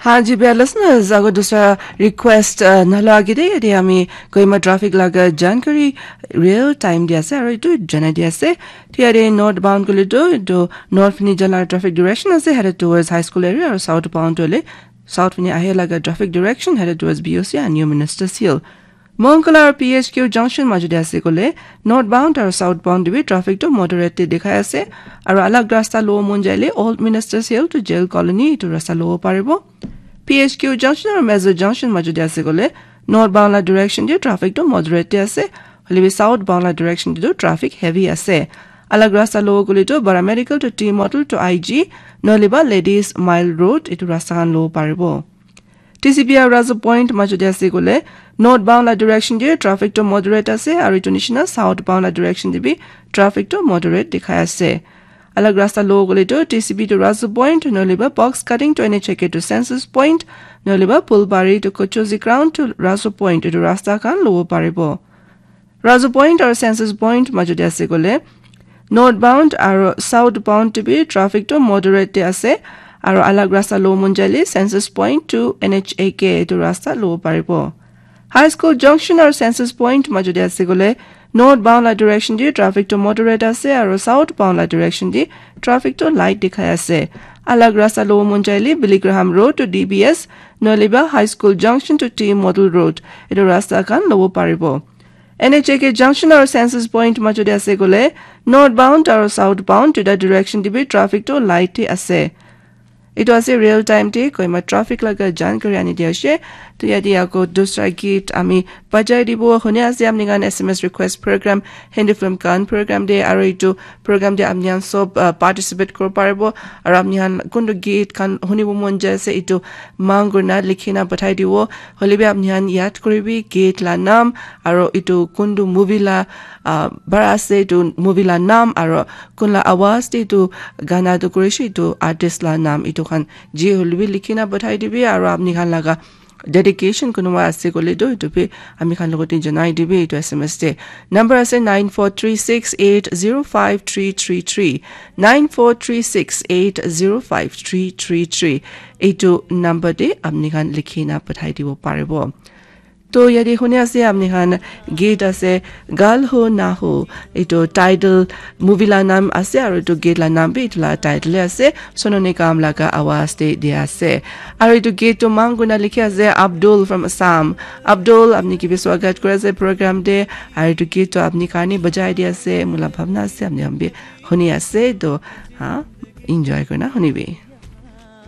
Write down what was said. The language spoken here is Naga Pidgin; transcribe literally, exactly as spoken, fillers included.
Haan ji, bhaiya listeners, agar dusra request uh, nala agite yate ami Kohima traffic laga jankari real time di ase aru itu janai di ase. Ti yate northbound kuli tu itu north fini jala traffic direction ase, headed towards high school area, aru southbound hole south fini ahe laga traffic direction, headed towards B O C and New Ministers Hill. Monkala aru P H Q junction majute ase kole northbound aru southbound te bi traffic to moderate te dikhai ase. Aru alag rasta lo mon jaile Old Ministers Hill to Jail Colony itu rasta lo paribo. P H Q junction aru Mezo junction majute ase kole northbound la direction te traffic to moderate te ase. Hoile bi southbound la direction te to traffic heavy ase. Alag rasta lo kole to Bara Medical to T Model to I G, noliba Ladies Mile Road itu rasta khan lo paribo. T C B aru Razu Point majute ase kole northbound la direction te traffic to moderate ase aru itu nishina southbound la direction te bi traffic to moderate dikhai ase. Alag rasta lo kole to T C B to Razu Point, noliba box cutting to N H A K to Census Point, noliba Pulbari to Kochozi Ground to Razu Point itu rasta khan lo paribo. Razu Point aru Census Point majute ase kole northbound aru southbound te bi traffic to moderate te ase. Aru alag rasta lo mon jaile Census Point to N H A K itu rasta lo paribo. High School Junction aru Census Point majute ase kole northbound la direction te traffic to moderate ase aru southbound la direction te traffic to light dikhai ase. Alag rasta lo mon jaile Billy Graham Road to D B S, noliba High School Junction to T Model Road itu rasta khan lo paribo. N H A K junction aru Census Point majute ase kole northbound aru southbound duita direction te bi traffic to light te ase. Itu ase real time te Kohima traffic laga jankari ani di ase. To yate ako dusra git ami bajai dibo. Huni ase apni khan S M S request program, Hindi film khan program te, aru itu program te apni khan sob uh, participate kori paribo. Aru apni khan kuntu git khan hunibo mon jai ase itu mang kurina likhina pathai dibo. Hoile bi apni khan yad koribi git la naam aru itu kuntu movie la uh, bara ase itu movie la naam aru kun la awaz te itu gana tu korishi itu artist la naam itu khan ji hoile bi likhina pathai dibi aru apni khan laga dedication kunuba ase kole tu itu bi ami khan logote janai dibi itu S M S te. Number ase nine four three six eight zero five three three three, nine four three six eight zero five three three three. Itu number te apni khan likhina pathai dibo paribo. To yate huni ase apni khan git ase Gal Ho Na Ho, itu title movie la naam ase aru itu git la naam bi itu la title ase. Sonu Nigam laga awaz te dia ase. Aru itu git to mang kurina likhi ase Abdul from Assam. Abdul, apni ki bi swagat kori ase program te. Aru itu git to apni karne bajai di ase. Mula bhabna ase apni khan bi huni ase to ha enjoy kurina hunibi.